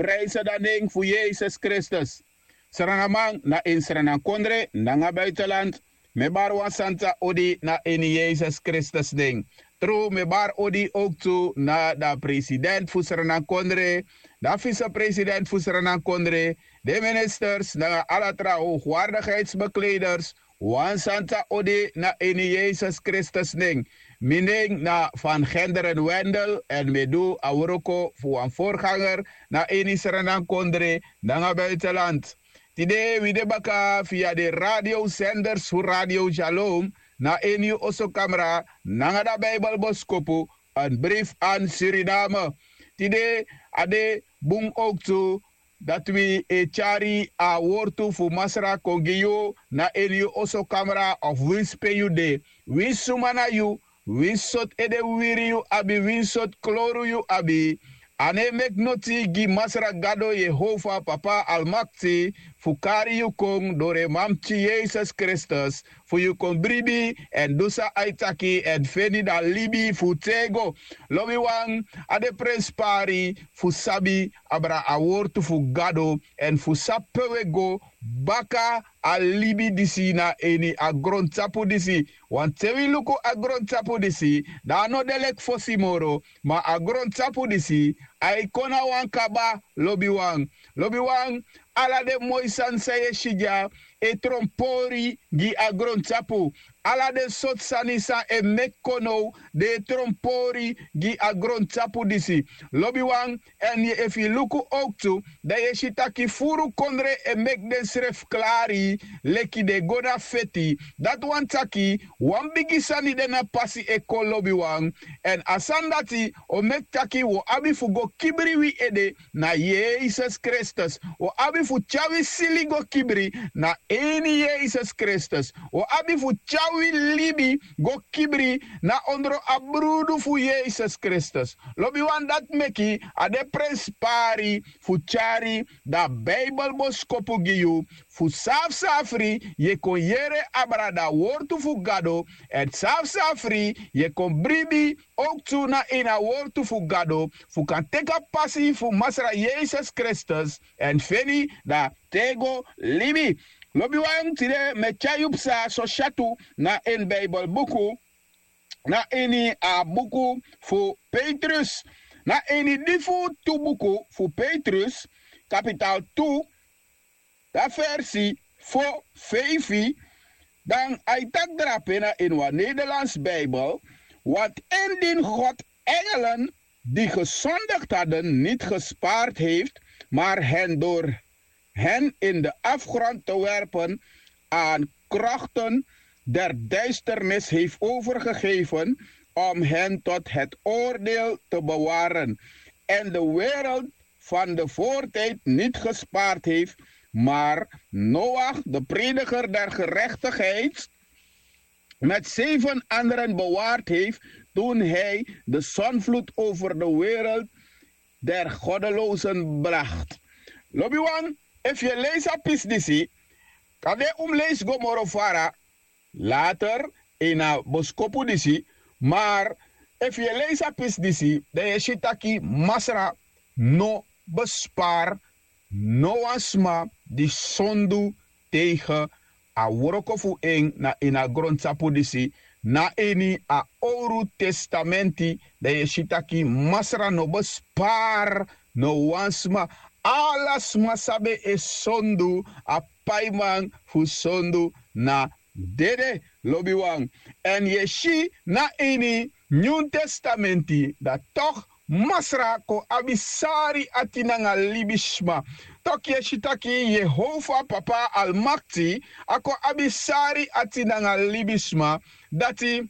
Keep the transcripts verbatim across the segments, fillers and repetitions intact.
prijse dan nen fu Yesus Kristus. Sranaman na ini sranankondre nanga buitenland, mi e bari wan santa odi na ini Yesus Kristus nen. Tru mi e bari odi ook tu na dan president fu sranankondre, dan vicepresident fu sranankondre, den ministers nanga ala tra hoogwaardigheidsbekleders, wan santa odi na ini Yesus Kristus nen. Mi nen na Van Genderen Wendel èn mi e du a wroko fu wan voorganger na ini sranankondre nanga buitenland. Tide wi de baka via den radiosenders fu Radio Shalom na ini yu osokamra nanga dan Bijbelboskopu, een brief aan Suriname. Tide a de bun ook tu dati wi e tyari a wortu fu Masra kon gi yu na ini yu osokamra of winsi pe yu de, winsi suma na yu, winsi sortu ede wiri yu abi, winsi sortu kloru yu abi. A no e meki noti gi Masra Gado Yehova Papa Almakti fu kari yu kon doro en Manpikin Yesus Kristus fu yu kon bribi èn du san a e taki èn feni dan libi fu tego. Lobiwan, a de prenspari fu sabi abra a wortu fu Gado èn fu sabi pe wi e go baka a libi disi na ini a grontapu disi. Wanten wi luku a grontapu disi, dan a no de leki fosi moro, ma a grontapu disi a e kon na wan kaba. Lobiwan, lobiwan, ala den moi sani san yu e si dya e tronpori gi a grontapu. Ala den sortu sani san e meki kon now den e tronpori gi a grontapu disi. Lobiwan, èn efu yu luku owktu, dan yu e si taki furu kondre e meki densrefi klari leki den e go na feti. Dati wani taki wan bigi sani de na pasi e kon, lobiwan. Èn a sani dati o meki taki wi o abi fu go kibri wi ede na Yesus Kristus. Wi o abi fu tyari wi sili go kibri na ini Yesus Kristus. Wi o abi fu tyari wi libi go kibri na ondro a brudu fu Yesus Kristus. Lobiwan, dati meki a de prenspari fu tyari dan Bijbelboskopu gi yu, fu safsafri yu e kon yere abra dan wortu fu Gado, èn safsafri yu e kon bribi owktu na ini a wortu fu Gado, fu kan teki a pasi fu Masra Yesus Kristus èn feni dan tego libi. Lobiwan, tide mi e tyari yu psa so syatu na ini Bijbelbuku, na ini a buku fu Petrus, na ini di fu tu buku fu Petrus, kapital tu, dan versi fo, feifi, dan a e taki drape na ini wan Nederlands Bijbel: Want indien God engelen die gezondigd hadden niet gespaard heeft, maar hen door hen in de afgrond te werpen aan krochten der duisternis heeft overgegeven om hen tot het oordeel te bewaren, en de wereld van de voortijd niet gespaard heeft, maar Noach, de prediger der gerechtigheid, met zeven anderen bewaard heeft toen hij de zondvloed over de wereld der goddelozen bracht. Lobiwan, efu yu e leisi a pisi disi, kande un mus leisi go moro fara later ini a boskopu disi, maar efu yu e leisi a pisi disi, dan yu e si taki Masra no bespari no wan sma di sondu tegen a wroko fu en na ini a grontapu disi. Na ini a Owru Testamenti, dan yu e si taki Masra no bespari no wan sma. Ala sma san ben e sondu, a paiman fu sondu na dede, lobiwan. Èn yu e si na ini Nyun Testamenti, dan tok' Masra kon abi sari ati nanga libisma. Tok' yu e si taki Yehova Papa Almakti, a kon abi sari ati nanga libisma, dati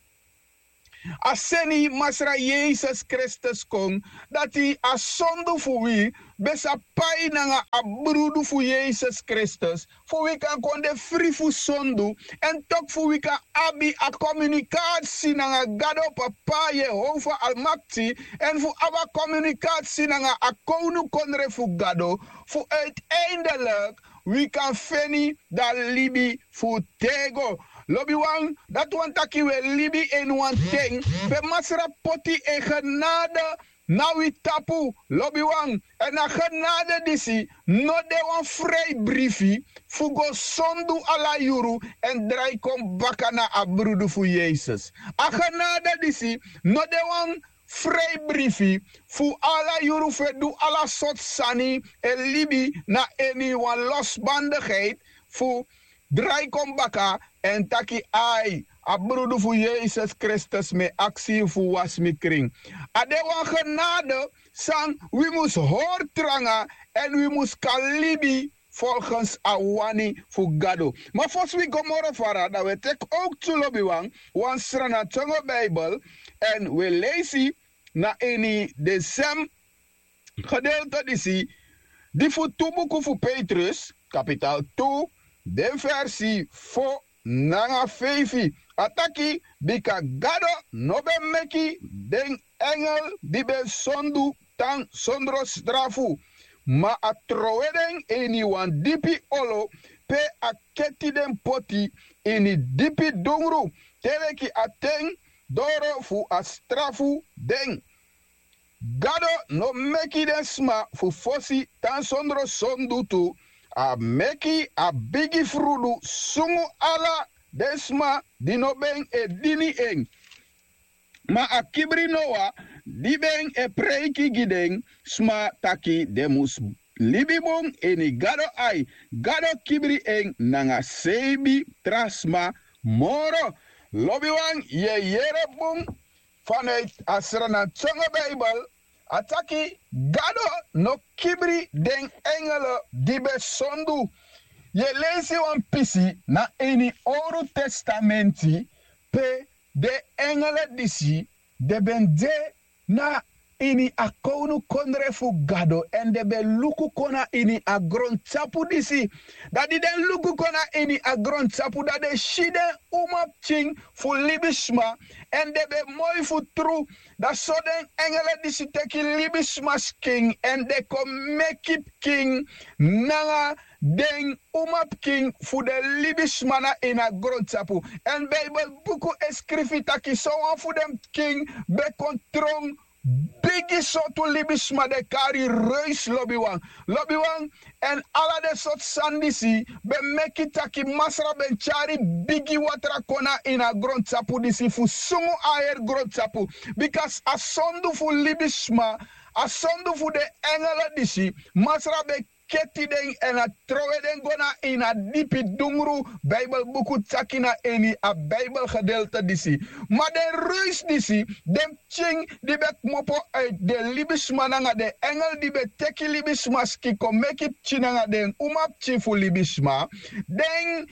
a seni Masra Yesus Kristus kon, dati a sondu fu wi ben sa pai nanga a brudu fu Yesus Kristus, fu wi kan kon de fri fu sondu, èn tok' fu wi kan abi a komunikasi nanga Gado Papa Yehova Almakti, èn fu abi a komunikasi nanga a kownukondre fu Gado, fu uiteindelik wi kan feni dan libi fu tego. Lobiwan, dati wani taki wi e libi ini wan ten pe Masra poti en genade na wi tapu, lobiwan. Èn a genade disi no de wan frei brifi fu go sondu ala yuru èn drai kon baka na a brudu fu Yesus. A genade disi no de wan frei brifi fu ala yuru fu e du ala sortu sani e libi na ini wan losbandigheid fu drai kon baka èn taki: Ai, a brudu fu Yesus Kristus, mi e aksi yu fu wasi mi krin. A de wan genade san wi mus hori tranga èn wi mus kan libi folgens a wani fu Gado. Ma fosi wi go moro fara, dan wi e teki owktu, lobiwan, wan Sranantongo Bijbel èn wi e leisi na ini den sem gedeelte disi, di fu tu buku fu Petrus, kapital tu, den versi fo nanga feifi. A taki: Bika Gado no ben meki den engel di ben sondu tan sondro strafu, ma a trowe den ini wan dipi olo, pe a keti den poti ini dipi dungru, te leki a ten doro fu a strafu den. Gado no meki den sma fu fosi tan sondro sondu tu, a meki a bigi frudu sungu ala den sma di no ben e dini en. Ma a kibri Noa, di ben e preiki gi den sma taki den mus libi bun ini Gado ai, Gado kibri en nanga seibi tra sma moro. Lobiwan, yu e yere bun, vanuit a Sranantongo Bijbel, a taki: Gado no kibri den engel di ben sondu. Yu e leisi wan pisi na ini Owru Testamenti, pe den engel disi den ben de na ini a kownukondre fu Gado èn den ben luku kon na ini a grontapu disi. Dan di den luku kon na ini a grontapu, dan den si den umapikin fu libisma èn den ben moi fu tru. Dan so den engel disi teki libisma skin èn den kon meki pikin nanga den umapikin fu den libisma na ini a grontapu. Èn Bijbel buku e skrifi taki sowan fu den pikin ben kon tron bigi sortu libisma, den kari reis, lobiwan. Lobiwan, èn ala den sortu sani disi ben meki taki Masra ben tyari bigi watra kon na ini a grontapu disi fu sungu a heri grontapu. Bika a sondu fu libisma, a sondu fu den engel disi, Masra ben keti den èn a trowe den go na ini a dipi dungru. Bijbel buku taki na ini a Bijbel gedeelte disi. Ma den reis disi, den pikin di ben kmopo uit den libisma nanga den engel di ben teki libisma skin kon meki pikin nanga den umapikin fu libisma, den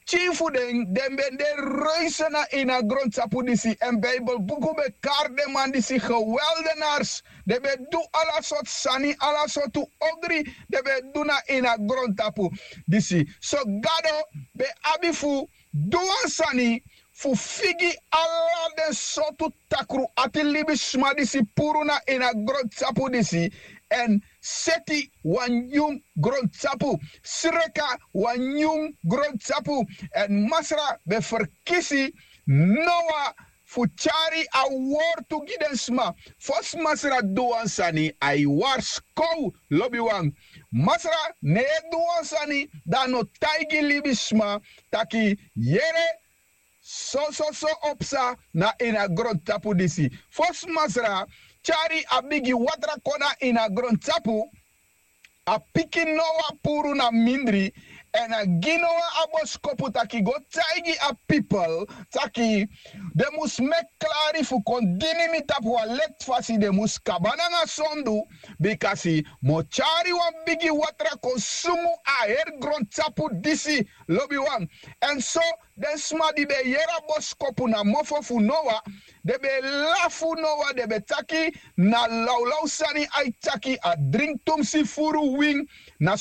pikin fu den, den ben de reis na ini a grontapu disi. Èn Bijbel buku ben kari den man disi geweldenars. Den ben du ala sortu sani, ala sortu ogri den ben du na ini a grontapu disi. So Gado ben abi fu du wan sani fu figi ala den sortu takru ati libisma disi puru na ini a grontapu disi, èn seti wan nyun grontapu, sreka wan nyun grontapu. Èn Masra ben ferkisi Noa fu tyari a wortu gi den sma. Fosi Masra du wan sani, a e warskow, lobiwan. Masra no e du wan sani dan a no taigi libisma taki: Yere, sososo o psa na ini a grontapu disi. Fosi Masra tyari a bigi watra kon na ini a grontapu, a piki Noa puru na mindri, èn a gi Noa a boskopu taki: Go taigi a pipel taki den mus meki klari fu kon dini mi tapu wan lekti fasi, den mus kaba nanga sondu, bikasi mi o tyari wan bigi watra kon sungu a heri grontapu disi, lobiwan. Èn so den sma di ben yere a boskopu na mofo fu Noa, den ben e lafu Noa, den ben e taki: Na lawlaw sani a e taki, a dringi tumsi furu win, na